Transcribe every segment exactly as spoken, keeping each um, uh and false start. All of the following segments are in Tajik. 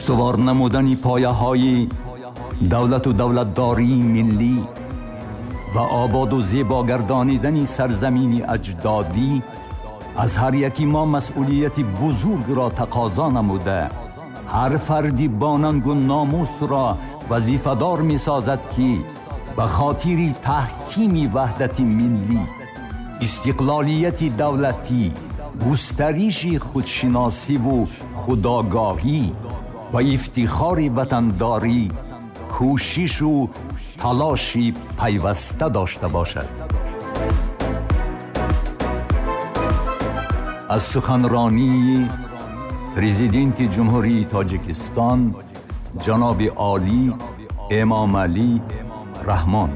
Устувор намудани пояҳои давлату давлатдории миллӣ ва ободу зебо гардонидани сарзамини аҷдодӣ аз ҳар яки мо масъулияти бузургро тақозо намуда, ҳар фарди бо нангу номусро вазифадор месозад, ки ба хотири таҳкими ваҳдати миллӣ, истиқлолияти давлатӣ, густариши худшиносиву худогоҳӣ ва ифтихори ватандорӣ кӯшишу талоши пайваста дошта бошад. Аз суханронии Президенти Ҷумҳурии Тоҷикистон ҷаноби олӣ Эмомалӣ Раҳмон.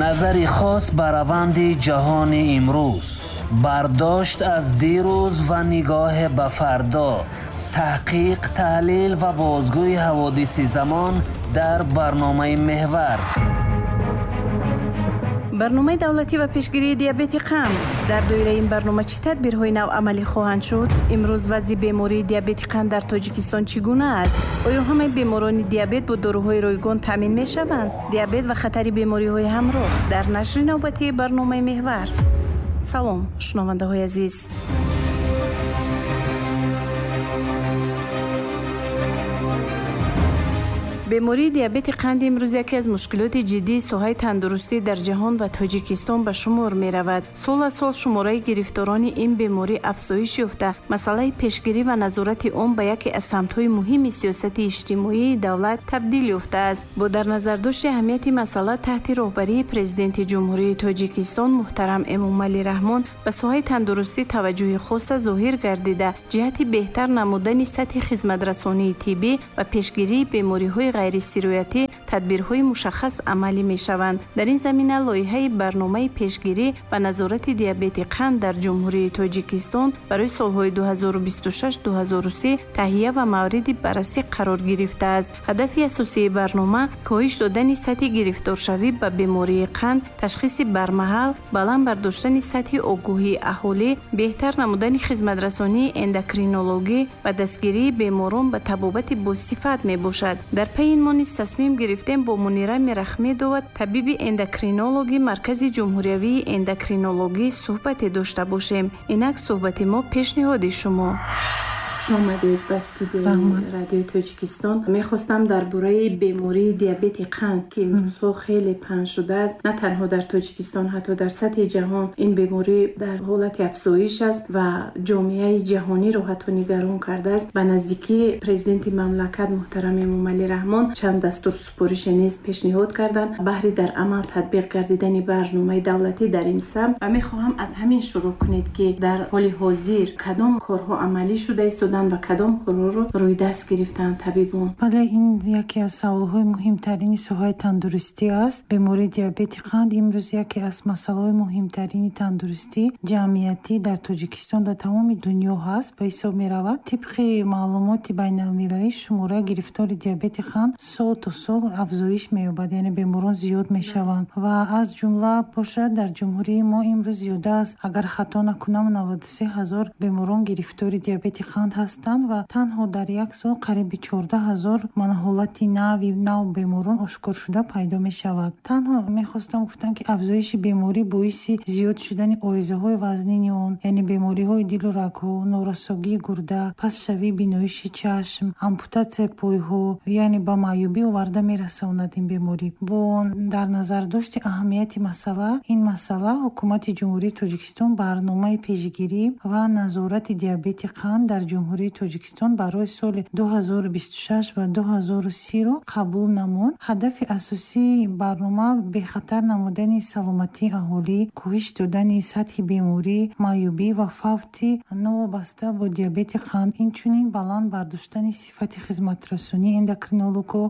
Назари хос ба раванди ҷаҳони имрӯз, бардошт аз дирӯз ва нигоҳ ба фардо, таҳқиқ, таҳлил ва бозгӯи ҳаводиси замон дар барномаи Меҳвар. Барномаи давлатӣ ва пешгирии диабети қанд. Дар доираи ин барнома чӣ тадбирҳои нав амалӣ хоҳанд шуд? Имрӯз вазъи бемории диабети қанд дар Тоҷикистон чӣ гуна аст? Оё ҳамаи беморони диабет бо доруҳои ройгон таъмин мешаванд? Диабет ва хатари бемориҳои ҳамроҳ дар нашри навбатии барномаи Меҳвар. Салом, шунавандаҳои азиз. Бемории диабети қанд имрӯз яке аз мушкилоти ҷиддии соҳаи тандурустӣ дар ҷаҳон ва Тоҷикистон ба шумор меравад. Сол аз сол шумораи гирифторони ин беморӣ афзоиш ёфта, масъалаи пешгирӣ ва назорати он ба яке аз самтҳои муҳими сиёсати иҷтимоии давлат табдил ёфтааст. Бо дар назардошти аҳамияти масъала таҳти роҳбарии Президенти Ҷумҳурии Тоҷикистон муҳтарам Эмомалӣ Раҳмон ба соҳаи тандурустӣ таваҷҷӯҳи хоса зоҳир гардида, ҷиҳати беҳтар намудани сатҳи хизматрасонии тиббӣ ва пешгирии бемориҳои ғайрисироятӣ тадбирҳои мушаххас амалӣ мешаванд. Дар ин замина лоиҳаи барномаи пешгирӣ ва назорати диабети қанд дар Ҷумҳурии Тоҷикистон барои солҳои ду ҳазору бисту шаш ду ҳазору се таҳия ва мавриди баррасӣ қарор гирифтааст. Ҳадафи асосии барнома коҳиш додани сатҳи гирифторшавӣ ба бемории қанд, ташхиси бармаҳал, баланд бардоштани сатҳи огоҳии аҳолӣ, беҳтар намудани хизматрасонии эндокринологӣ ва дастгирии беморон ба табобати босифат мебошад. Дар пайи ин мо низ тасмим гирифтем бо Мунира Мирахмедова, табиби эндокринологи Маркази ҷумҳуриявии эндокринологӣ суҳбате дошта бошем. Инак суҳбати мо пешниҳоди шумо. Хуш омадед ба студияи Радиои Тоҷикистон. Мехостам дар бораи бемории диабети қанд, ки имрӯзҳо хеле паҳн шудааст, на танҳо дар Тоҷикистон, ҳатто дар сатҳи ҷаҳон ин беморӣ дар ҳолати афзоиш аст ва ҷомеаи ҷаҳониро ҳатто нигарон кардааст. Ба наздикии президенти мамлакат муҳтарам Эмомалӣ Раҳмон чанд дастур супорише низ пешниҳод карданд баҳри дар амал татбиқ гардидани барномаи давлатӣ дар ин самт. Ва мехоҳам аз ҳамин шурӯъ кунед, ки дар ҳоли ҳозир кадом корҳо амалӣ шуда истоданд ва кадом корҳоро рӯи даст гирифтанд табибон? Бале, ин яке аз саволҳои муҳимтарини соҳаи тандурустӣ аст. Бемории диабети қанд имрӯз яке аз масъалаҳои муҳимтарини тандурустӣ ҷамъиятӣ дар Тоҷикистон ва тамоми дунё ҳаст, ба ҳисоб меравад. Тибқи маълумоти байналмилалӣ шумораи гирифтори диабети қанд сол то сол афзоиш меёбад, яъне беморон зиёд мешаванд ва аз ҷумла бошад дар ҷумҳурии мо имрӯз зиёда аст, агар хато накунам, наваду се ҳазор беморон гирифтори диабети қанд ҳастанд ва танҳо дар як сол қариби чордаҳ ҳазор ҳолати нави нав беморон ошкор шуда пайдо мешавад. Танҳо мехостам гуфтам, ки афзоиши беморӣ боиси зиёд шудани оризаҳои вазнини он, яъне бемориҳои дилу рагҳо, норасогии гурда, пастшавии биноиши чашм, ампутатсияи пойҳо, яъне ба маъюбӣ оварда мерасонад ин беморӣ. Бо дар назардошти аҳамияти масъала, ин масъала ҳукумати Ҷумҳурии Тоҷикистон барномаи пешгирӣ ва назорати диабети қанд дар Ҷумҳурии Тоҷикистон барои соли ду ҳазору бисту шаш ва ду ҳазору сиро қабул намуд. Ҳадафи асосии барнома бехатар намудани саломатии аҳолӣ, коҳиш додани сатҳи беморӣ, маъюбӣ ва фавти новобаста бо диабети қанд, инчунин баланд бардоштани сифати хизматрасонии эндокринологҳо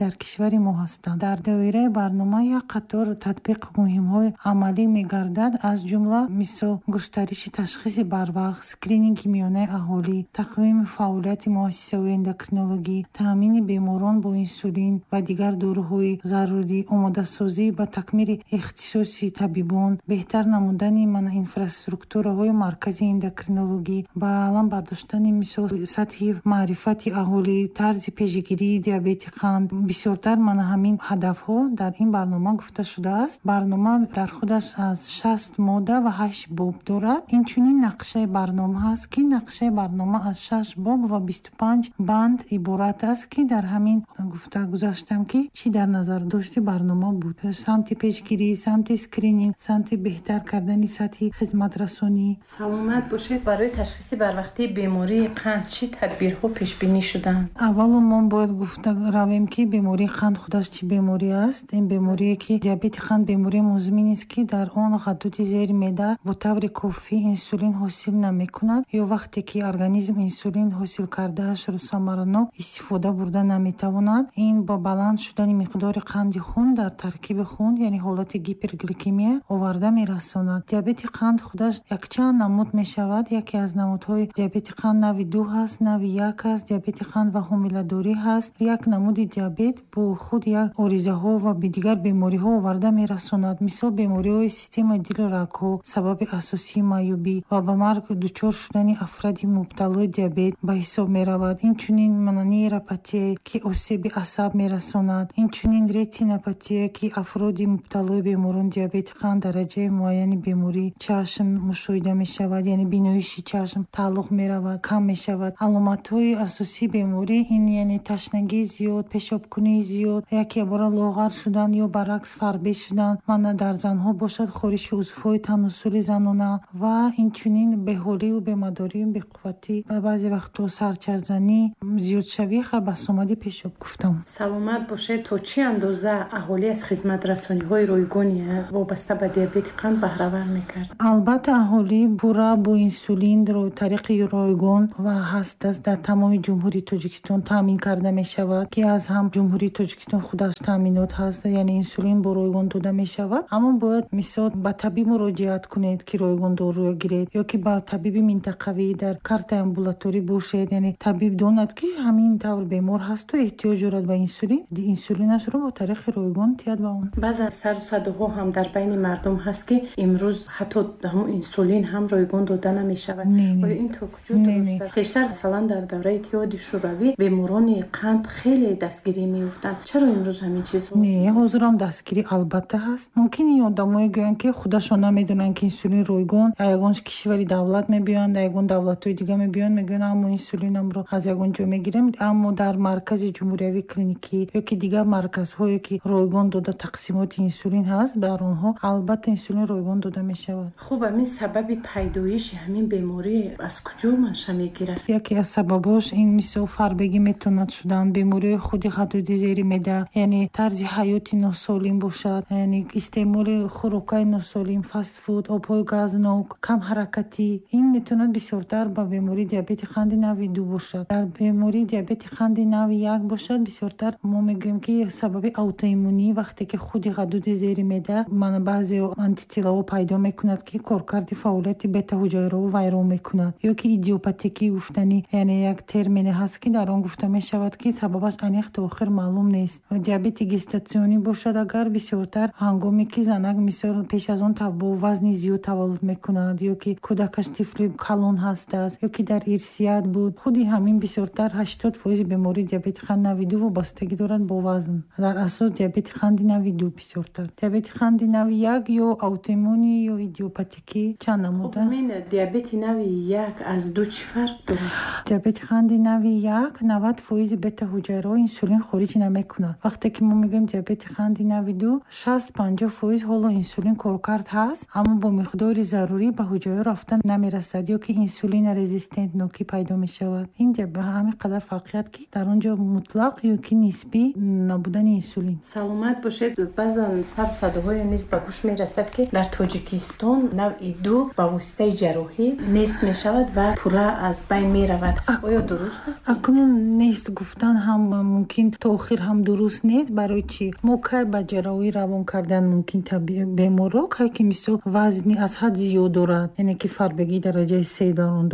дар кишвари мо ҳастанд. Дар доираи барнома як қатор татбиқ муҳимҳои амалӣ мегардад, аз ҷумла мисол густариши ташхиси барвақт, скрининги миёнаи аҳолӣ, тақвими фаъолияти муассисаҳои эндокринологӣ, таъмини беморон бо инсулин ва дигар доруҳои зарурӣ, омодасозӣ ба такмили ихтисоси табибон, беҳтар намудани мана инфраструктураҳои маркази эндокринологӣ, ба алам бардоштани мисол сатҳи маърифати аҳолӣ, тарзи пешгирии диабети қанд. Бисёртар мана ҳамин ҳадафҳо дар ин барнома гуфта шудааст. Барнома дар худаш аз шаст модда ва ҳашт боб дорад. Инчунин нақшаи барнома ҳаст, ки нақшаи барнома аз шаш боб ва бисту панҷ банд иборат аст, ки дар ҳамин гуфта гузаштам, ки чӣ дар назардошти барнома буд: самти пешгирӣ, самти скрининг, самти беҳтар кардани сатҳи хизматрасонӣ. Саломат бошед. Барои ташхиси барвақтии бемории қанд чӣ тадбирҳо пешбинӣ шуданд? Аввало мо бояд гуфта равем, ки бемории қанд худаш чӣ беморӣ аст. Ин беморие, ки диабети қанд бемории музмин аст, ки дар он ғадуди зери меъда бо таври кофӣ инсулин ҳосил намекунад ё вақте ки организм инсулин ҳосил кардаашро самаранок истифода бурда наметавонад. Ин ба баланд шудани миқдори қанди хун дар таркиби хун, яъне ҳолати гипергликемия оварда мерасонад. Диабети қанд худаш якчанд намуд мешавад. Яке аз намудҳои диабети қанд нави ду ҳаст, нави як ҳаст, диабети қанд ва ҳомиладорӣ ҳаст. Як намуди диабет бо худ як оризаҳо ва дигар бемориҳо оварда мерасонад. Мисол, бемориҳои системаи дилу рагҳо сабаби асосии маъюбӣ ва ба марг дучор шудани афроди мубталои диабет ба ҳисоб меравад. Инчунин нейропатия, ки осеби асаб мерасонад. Инчунин ретинопатия, ки афроди мубталои беморони диабети қанд дараҷаи муайяни бемории чашм мушоҳида мешавад, яъне биноиши чашм тааллуқ меравад, кам мешавад. Аломатҳои асосии беморӣ ин яъне ташнагии зиёд, пешобкунии зиёд, якябора лоғар шудан ё баръакс фарбе шудан, мана дар занҳо бошад хориши узвҳои таносули занона ва инчунин беҳолию бемадорию беқувватӣ ва баъзе вақтҳо сарчарзанӣ, зиёдшавии басомади пешоб гуфтам. Саломат бошед. То чӣ андоза аҳолӣ аз хизматрасониҳои ройгони вобаста ба диабети қанд баҳравар мекард? Албатта, аҳолӣ пурра бо инсулин тариқи ройгон ва ҳаст аст дар тамоми Ҷумҳурии Тоҷикистон таъмин карда мешавад, ки аз ҳам Ҷумҳурии Тоҷикистон худаш таъминот ҳаст, яъне инсулин бо ройгон дода мешавад. Аммо бояд мисол ба табиб муроҷиат кунед, ки ройгон доруя гиред, ё ки ба табиби минтақавӣ дар картаи амбулаторӣ бошед, яъне табиб донад, ки ҳамин тавр бемор ҳасту эҳтиёҷ дорад ба инсулин, инсулинашро бо тариқи ройгон тиҳад ба он. Баъзан сару садоҳо ҳам дар байни мардум ҳаст, ки имрӯз ҳатто ҳамун инсулин ҳам ройгон дода намешавад. Оё ин то куҷо дуруст аст? Пештар масалан дар давраи Иттиҳоди Шӯравӣ беморони қанд хеле дастгирӣ меёфтанд. Чаро имрӯз ҳамин чизҳо? Не, ҳозирам дастгирӣ албатта ҳаст. Мумкин ин одамое гӯянд, ки худашон намедонанд, ки инсулин ройгон аз ягон кишвари давлат мебиёянд, аз ягон давлатҳои дига мебиёянд, мегӯянд аммо инсулинамро аз ягон ҷо мегирем. Аммо дар маркази ҷумҳуриявии клиникӣ ё ки дигар марказҳое, ки ройгон дода тақсимоти инсулин ҳаст, дар онҳо албатта инсулин ройгон дода мешавад. Хуб, ҳамин сабаби пайдоиши ҳамин беморӣ аз куҷо манша мегирад? Яке аз сабабҳош ин мисол фарбегӣ метавонад шудан, бемориҳои худи ғадуди зери меъда, яъне тарзи ҳаёти носолим бошад, яъне истеъмоли хӯрокҳои носолим, фастфуд, обҳои газнок, камҳаракатӣ. Ин метавонад бисёртар ба бемории диабети қанди нави ду бошад. Дар бемории диабети қанди нави як бошад, бисёртар мо мегӯем, ки сабаби аутоиммунӣ, вақте ки худи ғадуди зери меъда мана баъзе антителаҳо пайдо мекунад, ки коркарди фаъолияти бета-ҳуҷайраҳо вайрон мекунад, ё ки идиопатикӣ гуфтанӣ, яъне як термине ҳаст, ки дар он гуфта мешавад, ки сабабаш аниқ то охир маълум нест. Диабети гестатсионӣ бошад, агар бисёртар ҳангоме ки занак мисол пеш аз он бо вазни зиёд таваллуд мекунад, ё ки кӯдакаш тифли калон ҳастааст, ё ки дар ирсият буд. Худи ҳамин бисёртар ҳаштод фоизи бемории диабети қанд нави ду вобастагӣ дорад бо вазн. Дар асос диабети қанди нави ду бисёртар. Диабети қанди нави як ё аутоиммунӣ ё идиопатикӣ чанд намуда. Хуб, диабети нави як аз ду чӣ фарқ дорад? Диабети қанди нави як навад фоизи бета-ҳуҷайраҳо инсулин хориҷ намекунад. Вақте ки мо мегӯем диабети қанди нави ду, шаст панҷоҳ фоиз ҳоло инсулин коркард ҳаст, аммо бо миқдори зарурӣ ба ҳуҷайраҳо рафта намерасад, ё ки инсулин резистентнокӣ пайдо мешавад. Ин ба ҳамин қадар фарқият, ки дар он ҷо мутлақ ё ки нисбӣ набудани инсулин. Саломат бошед. Баъзан сару садоҳое низ ба гӯш мерасад, ки дар Тоҷикистон навъи ду ба воситаи ҷарроҳӣ нест мешавад ва пурра аз байн меравад. Оё дуруст аст? Акнун нест гуфтан ҳам мумкин то охир ҳам дуруст нест. Барои чӣ? Мо кай ба ҷарроҳӣ равон кардан мумкин беморро, кай ки мисол вазни аз ҳад зиёд дорад, яъне ки фарбегии дараҷаи се дар он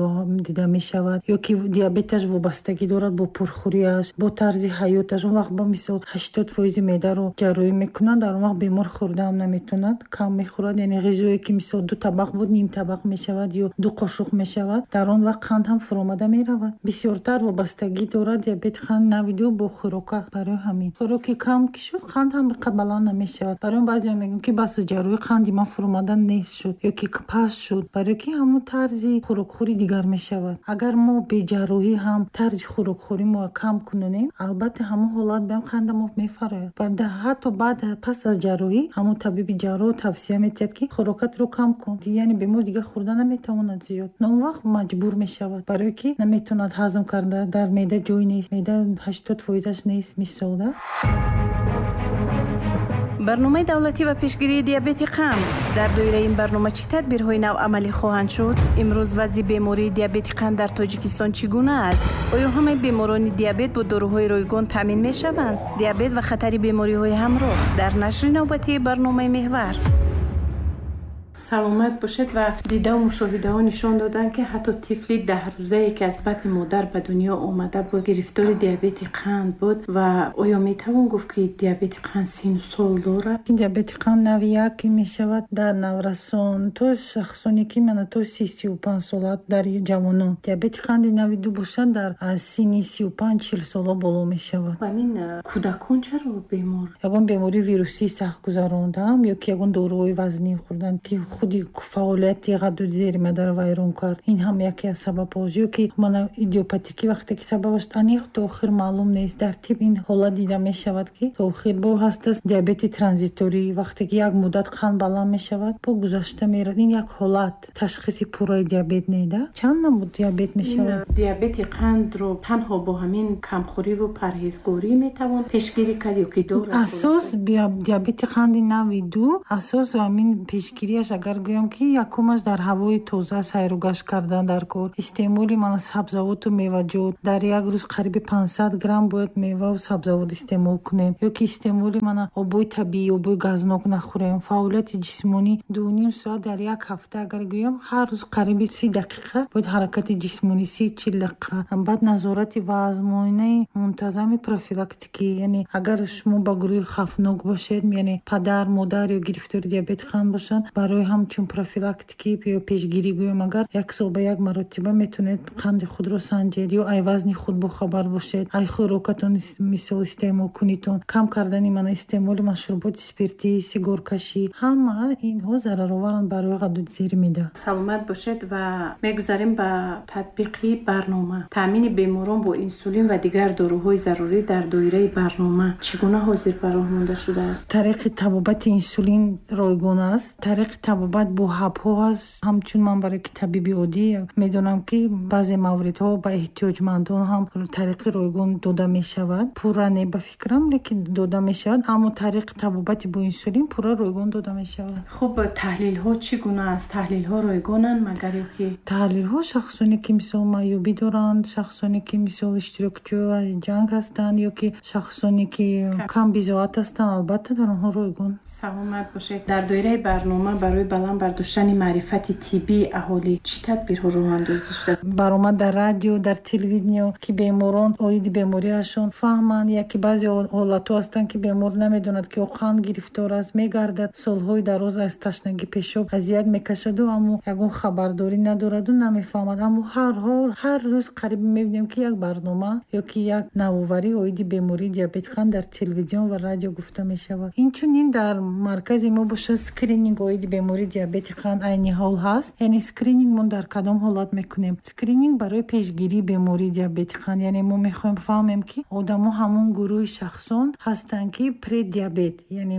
дида дида мешавад, ё ки диабеташ вобастагӣ дорад бо пурхӯрияш, бо тарзи ҳаёташ. Он вақт ба мисол ҳаштод фоизи меъдаро ҷарроҳӣ мекунанд, дар он вақт бемор хӯрдаам наметавонад, кам мехӯрад. Яъне ғизое ки мисол ду табақ буд, ним табақ мешавад ё ду қошуқ мешавад. Дар он вақт қанд ҳам фуромада меравад. Бисёртар вобастагӣ дорад диабети қанд навъи ду бо хӯрока. Барои ҳамин хӯроки кам ки шуд, қанд ҳам баланд намешавад. Барои он баъзеҳо мегӯянд, ки бас ҷарроҳӣ қанди ман фуромада нест шуд ё ки паст шуд, барои ки ҳамон тарзи хӯрокхӯрӣ дигар мешавад. Агар мо беҷарроҳӣ ҳам тарзи хӯрокхӯрӣ мо кам кунонем, албатта ҳамон ҳолат баам қанда мо мефарояд. Ва ҳатто баъд пас аз ҷарроҳӣ ҳамон табиби ҷарроҳ тавсия метиҳад, ки хӯрокатро кам кун, яъне бемор дигар хӯрда наметавонад зиёд. Но он вақт маҷбур мешавад, барое ки наметавонад ҳазм карда, дар меъда ҷой нест, меъда ҳаштод фоизаш нест мисол да. Барномаи давлатӣ ва пешгирии диабети қанд. Дар доираи ин барнома чӣ тадбирҳои нав амалӣ хоҳанд шуд? Имрӯз вазъи бемории диабети қанд дар Тоҷикистон чӣ гуна аст? Оё ҳамаи беморони диабет бо доруҳои ройгон таъмин мешаванд? Диабет ва хатари бемориҳои ҳамроҳ дар нашри навбатии барномаи Меҳвар. Саломат бошед. Ва дидаву мушоҳидаҳо нишон доданд, ки ҳатто тифли даҳрӯзае, ки аз батни модар ба дунё омада буд, гирифтори диабети қанд буд. Ва оё метавон гуфт, ки диабети қанд сину сол дорад? Диабети қанд навъи як мешавад дар наврасон то шахсоне, ки мана то си сию панҷ сола дар ҷавонон. Диабети қанди навъи ду бошад, дар аз синни сию панҷ чил сола боло мешавад. Ҳамин кӯдакон чаро бемор? Ягон бемории вирусии сахт гузарондаам ё ки ягон доруҳои вазнин хӯрдан, ки худи фаъолияти ғадуди зери меъдаро вайрон кард. Ин ҳам яке аз сабабҳост. Ё ки мана идиопатикӣ, вақте ки сабабаш аниқ то охир маълум нест, дар тиб ин ҳолат дида мешавад, ки то охир бо ҳастааст диабети транзиторӣ, вақте ки як муддат қанд баланд мешавад, бо гузашта меравад. Ин як ҳолат, ташхиси пурраи диабет не да. Чанд намуд диабет мешавад? Диабети қандро танҳо бо ҳамин камхӯриву парҳезгорӣ метавон пешгирӣ кард ё ки дорад? Асос диабети қанди навъи ду, асос ҳамин пешгириаш, агар гӯям, ки якумаш дар ҳавои тоза сайру гашт кардан дар кор, истеъмоли мана сабзавоту меваҷот, дар як рӯз қариби панҷсад грамм бояд меваву сабзавот истеъмол кунем, ё ки истеъмоли мана обои табиӣ, обои газнок нахӯрем, фаъолияти ҷисмонӣ дуним соат дар як ҳафта, агар гӯям, ҳар рӯз қариби си дақиқа бояд ҳаракати ҷисмонӣ, си чил дақиқа. Баъд назорати вазн, муоинаи мунтазами профилактикӣ, яъне агар шумо ба гурӯҳи хавфнок бошед, яъне падар, модар ё гирифтори диабети қанд бошанд, барои ҳамчун профилактикӣ ё пешгирӣ гӯям, агар як сол ба як маротиба метавонед қанди худро санҷед ё ай вазни худ бохабар бошед, ай хӯрокатон мисол истеъмол кунитон, кам кардани мана истеъмоли машруботи спиртӣ, сигоркашӣ, ҳама инҳо зарароваранд барои ғадуди зери меъда. Саломат бошед. Ва мегузарем ба татбиқи барнома. Таъмини беморон бо инсулин ва дигар доруҳои зарурӣ дар доираи барнома чӣ гуна ҳозир ба роҳ монда шудааст? Тариқи табобати инсулин ройгон аст, тариқи табобат бо ҳабҳо аст. Ҳамчун ман барои ки табиби оддӣ медонам, ки баъзе мавридҳо ба эҳтиёҷмандон ҳам тариқи ройгон дода мешавад, пурра не ба фикрам, лекин дода мешавад. Аммо тариқи табобати бо инсулин пурра ройгон дода мешавад. Хуб, таҳлилҳо чӣ гуна аст? Таҳлилҳо ройгонанд магар ё ки? Таҳлилҳо шахсоне ки мисол маъюбӣ доранд, шахсоне ки мисол иштирокчии ҷанг ҳастанд ё ки шахсоне ки камбизоат ҳастанд, албатта дар онҳо ройгон. Саломат бошед. Дар доираи барнома барои баланд бардоштани маърифати тиббии аҳолӣ чӣ тадбирҳо роҳандозӣ шудааст? Баромад дар радио, дар телевидениё, ки беморон оиди бемориашон фаҳманд. Яке баъзе ҳолатҳо ҳастанд, ки бемор намедонад, ки ӯ қанд гирифтор аст, мегардад солҳои дароз аз ташнагӣ пешоб азият мекашаду, аммо ягон хабардорӣ надораду, намефаҳмад. Аммо ҳар ҳол ҳар рӯз қариб мебинем, ки як барнома ё ки як навоварӣ оиди бемории диабети қанд дар телевизион ва радио гуфта мешавад. Инчунин дар маркази мо бошад скрининг оиди бемории диабети қанд айни ҳол ҳаст. Яъне скрининг мо дар кадом ҳолат мекунем? Скрининг барои пешгирии бемории диабети қанд, яъне мо мехоҳем фаҳмем, ки одамо ҳамон гурӯҳи шахсон ҳастанд, ки предиабет, яъне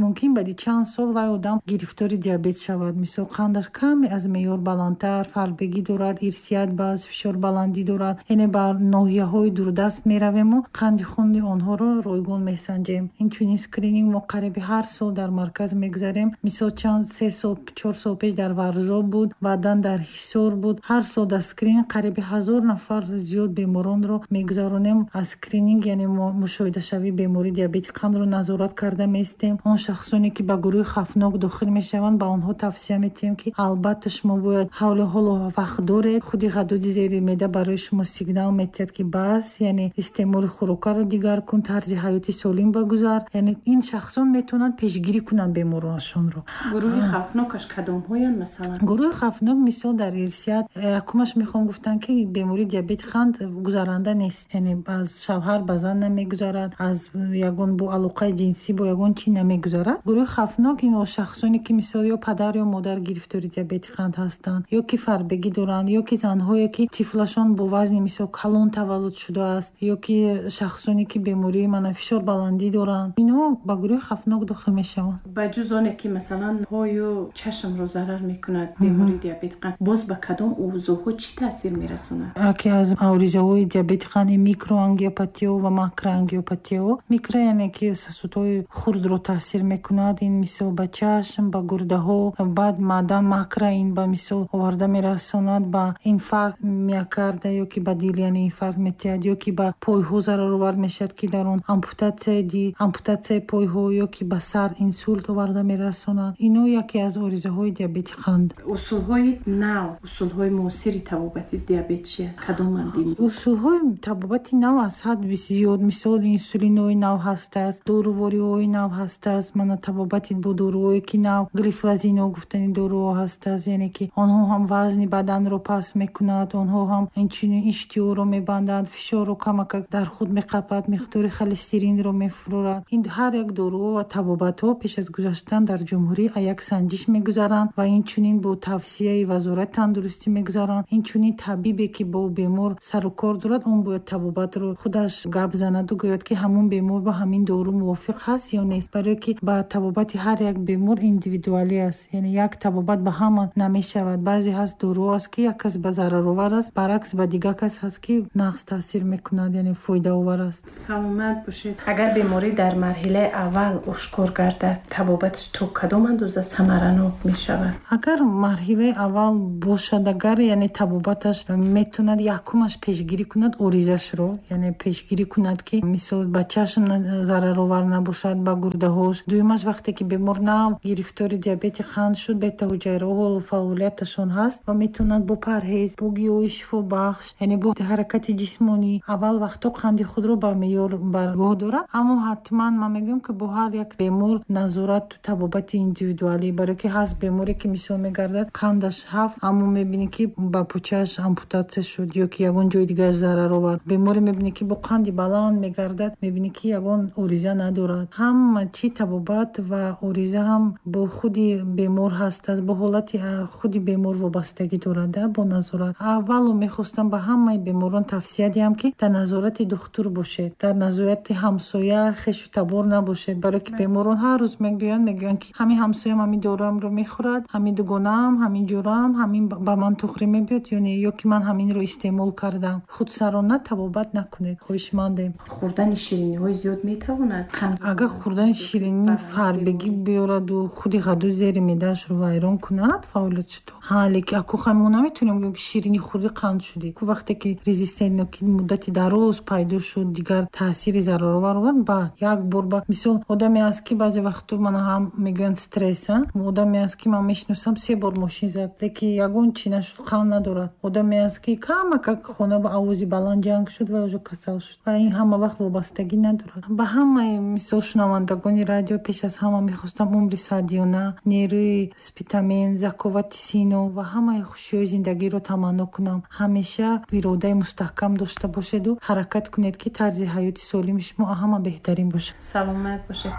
мумкин баъди чанд сол вай одам гирифтори диабет шавад. Мисол қандаш каме аз меъёр баландтар, фарбегӣ дорад, ирсият баз, фишорбаландӣ дорад. Яъне ба ноҳияҳои дурдаст меравему қанди хуни онҳоро ройгон месанҷем. Инчунин скрининг мо қариби ҳар сол дар марказ мегзарем. Мисол чанд се сол, чор сол пеш дар Варзоб буд, баъдан дар Ҳисор буд. Ҳар сол дар скрининг қариби ҳазор нафар зиёд беморонро мегузаронем. Аз скрининг, яъне мушоҳидашавии бемории диабети қандро назорат карда меистем. Он шахсоне ки ба гурӯҳи хавфнок дохил мешаванд, ба онҳо тавсия метиҳем, ки албатта шумо бояд ҳавлу ҳоло вақт доред, худи ғадуди зери меъда барои шумо сигнал метиҳад, ки бас, яъне истеъмоли хӯрокаро дигар кун, тарзи ҳаёти солим багузар. Яъне ин шахсон метавонанд пешгирӣ кунанд беморонашонро. Гурӯҳи хавфнокаш кадомҳоянд масалан? Гурӯҳи хавфнок мисол дар ирсият якумаш мехоҳам гуфтан, ки бемории диабети қанд гузаранда нест, яъне аз шавҳар ба зан намегузарад, аз ягон бо алоқаи ҷинсӣ бо ягон чӣ намегузарад. Гурӯҳи хавфнок ин шахсоне ки мисол ё падар ё модар гирифтори диабети қанд ҳастанд, ё ки фарбегӣ доранд, ё ки занҳое ки тифлашон бо вазни мисол калон таваллуд шудааст, ё ки шахсоне ки бемории мана фишорбаландӣ доранд, инҳо ба гурӯҳи хавфнок дохил мешаванд. Ба ҷуз оне ки масалан пою чашмро зарар мекунад бемории диабети қанд, боз ба кадом узвҳо чӣ таъсир мерасонад? Яке аз оризаҳои диабети қанд микроангиопатиё ва макроангиопатиё. Микро яъне ки сосудҳои хурдро таъсир мекунад, ин мисол ба чашм, ба гурдаҳо. Баъд маъдан макро ин ба мисол оварда мерасонад ба инфаркт миокарда ё ки ба дил, яъне инфаркт метиҳад, ё ки ба пойҳо зараровар мешавад, ки дар он ампутатсияи дил, ампутатсияи пойҳо, ё ки ба сар инсулт оварда мерасонад. Ино яке аз оризаҳои диабети қанд. Усулҳои нав, усулҳои муосири табобати диабет чи аст? Кадоманд? Усулҳои табобати нав аз ҳад зиёд. Мисол инсулинҳои нав ҳастааст, дорувориҳои нав ҳастааст, мана табобати бо доруҳое ки нав, глифлазино гуфтани доруҳо ҳастааст, яъне ки онҳо ҳам вазни баданро паст мекунад, онҳо ҳам инчунин иштиҳоро мебанданд, фишорро камакак дар худ меқапад, миқдори холестеринро мефурорад. Ин ҳар як доруҳо ва табобатҳо пеш аз гузаштан дар ҷумҳурӣ як санҷиш мегузаранд ва инчунин бо тавсияи вазорати тандурустӣ мегузаранд. Инчунин табибе ки бо бемор сару кор дорад, он бояд табобатро худаш гап занаду гӯяд, ки ҳамун бемор ба ҳамин дору мувофиқ ҳаст ё нест, барое ки ба табобати ҳар як бемор индивидуалӣ аст, яъне як табобат ба ҳама намешавад. Баъзе ҳаст доруҳо аст, ки як кас ба зараровар аст, баръакс ба дигар кас ҳаст, ки нағз таъсир мекунад, яъне фоидаовар аст. Саломат бошед. Агар беморӣ дар марҳилаи аввал ошкор гардад, табобаташ то кадом андоза самаранок мешавад? Агар марҳилаи аввал бошад, агар яъне табобаташ метавонад якумаш пешгирӣ кунад оризашро, яъне пешгирӣ кунад, ки мисол ба чашм зараровар набошад, ба гурдаҳош. Дуюмаш вақте ки бемор нав гирифтори диабети қанд шуд, бета-ҳуҷайраҳо ҳолу фаъолияташон ҳаст ва метавонад бо парҳез, бо гиёҳи шифобахш, яъне бо ҳаракати ҷисмонӣ аввал вақто қанди худро ба меъёр баргоҳ дорад. Аммо ҳатман ман мегӯям, ки бо ҳар як бемор назорату табобати индивидуалӣ, барое ки ҳаст беморе ки мисол мегардад қандаш ҳафт, аммо мебинӣ ки ба пӯчааш ампутатсия шуд ё ки ягон ҷои дигараш зарар овард. Беморе мебинӣ ки бо қанди баланд мегардад, мебинӣ ки ягон ориза надорад. Ҳама чи табобат ва ориза ҳам бо худи бемор ҳастааст, бо ҳолати худи бемор вобастагӣ дорад, бо назорат. Аввало мехостам ба ҳамаи беморон тавсия диҳам, ки дар назорати духтур бошед, дар назорати ҳамсоя, хешу табор набошед, барое ки беморон ҳар рӯз мегӯянд, мегӯянд ки ҳамин ҳамсоям ҳамин доруамро мехӯрад, ҳамин дугонаам, ҳамин ҷӯраам, ҳамин ба ман тухрӣ мебиёд ё не, ё ки ман ҳаминро истеъмол кардам. Худсарона табобат накунед, хоҳишмандем. Хӯрдани шириниҳои зиёд метавонад қанд? Агар хӯрдани ширинӣ фарбегӣ биёраду худи ғадуди зери меъдаашро вайрон кунад фаъолиятшо, ҳа, лекин аку мо наметавонем гӯем, ки ширинӣ хӯрдӣ қанд шудӣ. Ку вақте ки резистентно ки муддати дароз пайдо шуд, дигар таъсири зараровар овард, баъд як бор ба мисол одаме аст, ки баъзе вақтҳо мана ҳам мегӯянд стресс, одаме аст, ки ман мешиносам, се бор мошин зад, лекин ягон чӣ нашуд, қанд надорад. Одаме аст, ки камакак хона ба овози баланд ҷанг шуд ва уже касал шуд. Ва ин ҳама вақт вобастагӣ надорад. Ба ҳамаи мисол шунавандагони радио пеш аз ҳама мехостам умри саъдиёна, нерӯи спитамен, заковати сино ва ҳамаи хушиҳои зиндагиро таманно кунам. Ҳамеша иродаи мустаҳкам дошта бошеду ҳаракат кунед, ки тарзи ҳаёти солими шумо ҳама беҳтарин бошад. Саломат бошед.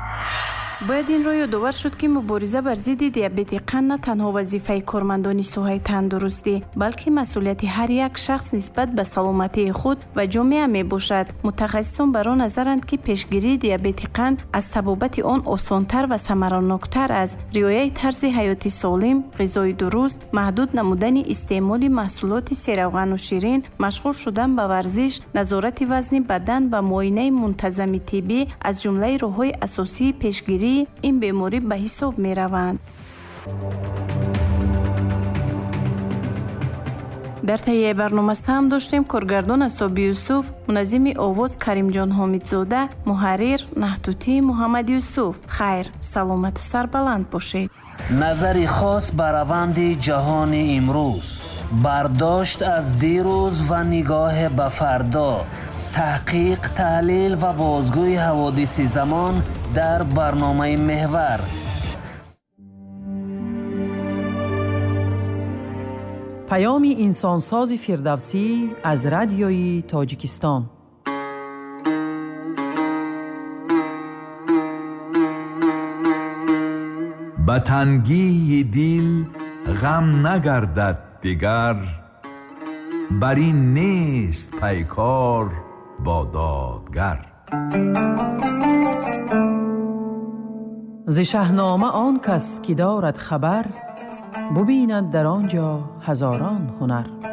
Бояд инро ёдовар шуд, ки мубориза бар зидди диабети қанд на танҳо вазифаи кормандони соҳаи тандурустӣ, балки масъулияти ҳар як шахс нисбат ба саломатии худ ва ҷомеа мебошад. Мутахассисон бар он назаранд, ки пешгирии диабети қанд аз табобати он осонтар ва самараноктар аст. Риояи тарзи ҳаёти солим, ғизои дуруст, маҳдуд намудани истеъмоли маҳсулоти серавғану ширин, машғул шудан ба варзиш, назорати вазни бадан ва муоинаи мунтазами тиббӣ аз ҷумлаи роҳҳои асосии пешгирии ин беморӣ ба ҳисоб мераванд. Дар таҳияи барнома саҳм доштем коргардон Асоби Юсуф, муназзими овоз Каримҷон Ҳомидзода, муҳаррир Наҳтутӣ Муҳаммад Юсуф. Хайр, саломату сарбаланд бошед. Назари хос ба раванди ҷаҳони имрӯз, бардошт аз дирӯз ва нигоҳ ба фардо, таҳқиқ, таҳлил ва бозгӯи ҳаводиси замон дар барномаи Меҳвар. Паёми инсонсози Фирдавсӣ аз радиои Тоҷикистон. Ба тангии дил ғам нагардад дигар, бар ин нест пайкор бо додгар. Зи Шаҳнома он кас ки дорад хабар, бубинад дар он ҷо ҳазорон ҳунар.